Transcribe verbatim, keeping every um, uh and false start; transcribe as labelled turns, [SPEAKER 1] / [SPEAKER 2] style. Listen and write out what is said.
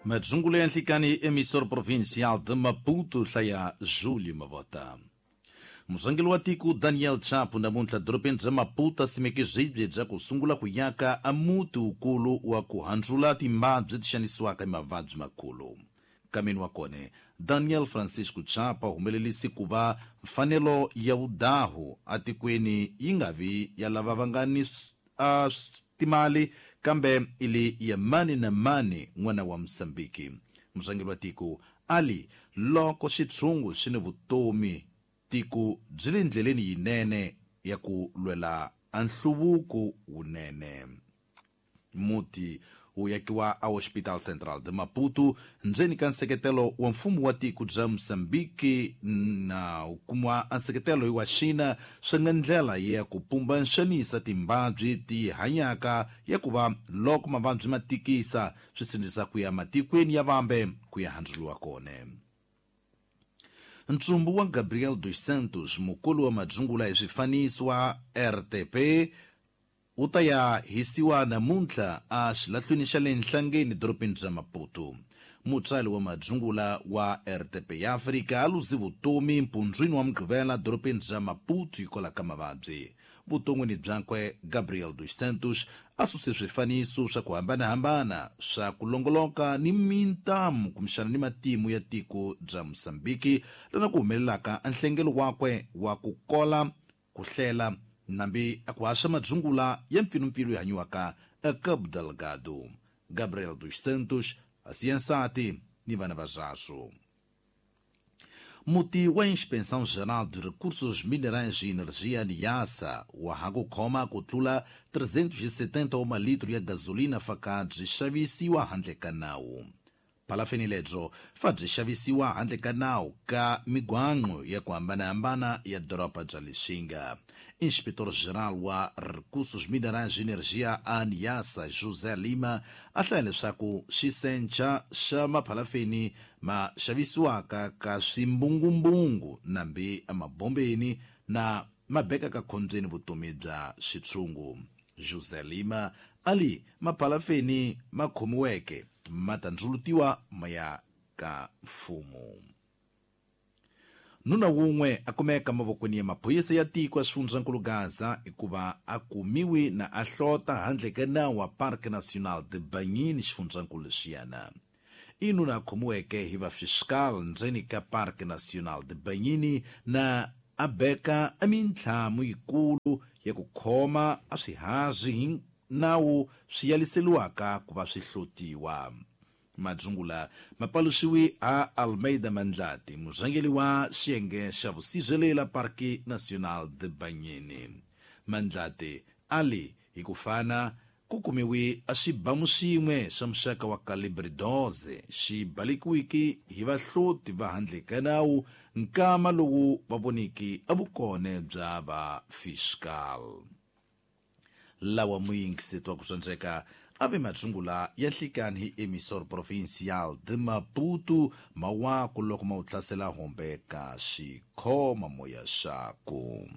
[SPEAKER 1] Madzungulu ya nhlikani emissor provincial de Maputo hlaya Júlio Mavota. Murhangeri wa tiko Daniel Chapo namuntlha dorobeni bya Maputo a simeke swibye bya ku sungula ku yaka a muti wukulu wa ku handzula timbabyi ti xanisiwaka hi mavabyi makulu. Nkameni wa kona Daniel Francisco Chapo a humelerisi ku va mfanelo ya vudahu atikweni yi nga vi ya lava va nga ni a timali kambe ili ya mani na mani n'wana wa Mozambiki. Murhangeri wa tiko ali loko xitshungu xi ni vutomi tiko byi le ndleleni yinene ya ku lwela a nhluvuko wunene. Muti wu yakiwa a Hospital Central de Maputo ndzeni ka nseketelo wa mfumo wa tiko bya Mozambiki na wu kumiwa a nseketelo wa China swi nga ndlela ya ku pumba nxanisa timbabyi ti hanyaka ya ku va loko mavabyi ma tikisa swi sindzisa ku ya matikweni ya vambe ku ya handzuriwa kona. Ntsumbu wa Gabriel dos Santos, mukulu wa madzungula hi swifaniso wa R T P, wu ta ya hisiwa namuntlha a xilahlwini xa le Nhlangeni dorobeni bya Maputo. Mutsari wa madzungula wa R T P ya Afrika a luzi vutomi mpundzwini wa Mugqivela dorobeni bya Maputo hikwalaho ka mavabyi. Vuton'wini byakwe Gabriel dos Santos a suse swifaniso swa ku hambanahambana swa ku longoloka ni mintamu kumbexana ni matimu ya tiko bya Mozambiki lana ku humelelaka a nhlengelo wakwe wa ku kola ku hlela nambi a ku haxa madzungula ya mpfilumpfilu yi hanyiwaka eCabo Delgado. Gabriel dos Santos a siya nsati ni vana va zvaswo. Muti wa Inspeção Geral de Recursos Minerais e Energia Niassa wa ha ku khoma ku tlula trezentos e setenta wa malitro ya gasolina faka byi xavisiwa handle ka nawu. Phalafeni lebyo fa byi xavisiwa handle ka nawu ka migwanqo ya ku hambanahambana ya doroba bya Lixinga. Inspetor Geral wa Recursos Minerais e Energia a Niassa José Lima a hlaya leswaku xisenca xa maphalafeni ma xavisiwaka ka swimbungumbungu nambi emabombeni na ma bekaka khombyeni vutomi bya xitshungu. José Lima ali maphalafeni ma khomiweke ma ta ndzulutiwa ma ya ka mfumo. Nuna wun'we a kumeka mavokweni ya maphorisa ya tiko ya xifundzankulu Gaza hikuva a kumiwi na a hlota handle ka nawu wa Parque Nacional de Banhine xifundzankulu lexiyana. I nuna a khomiweke hi va fiscal ndzeni ka Parque Nacional de Banhine na a beka a mintlhamu yikulu ya ku khoma a swihazi hi nawu swi yaliseliwaka ku va swi hlotiwa. Madzungula mapaluxiwi a Almeida Mandlati, murhangeri wa xiyenge xa vusirhelela Parque Nacional de Banhine. Mandlati ali hi ku fana ku kumiwi a xibamu xin'we xa muxaka wa calibre doze xi balekiwiki hi vahloti va handle ka nawu nkama lowu va voniki a vukone bya va fiscal. Lawa muyingiseti wa ku swandzeka a ve madzungula ya nhlikani hi emissor provincial de Maputo mawaku loko ma wu hlasela hombe ka xikhoma moya xaku.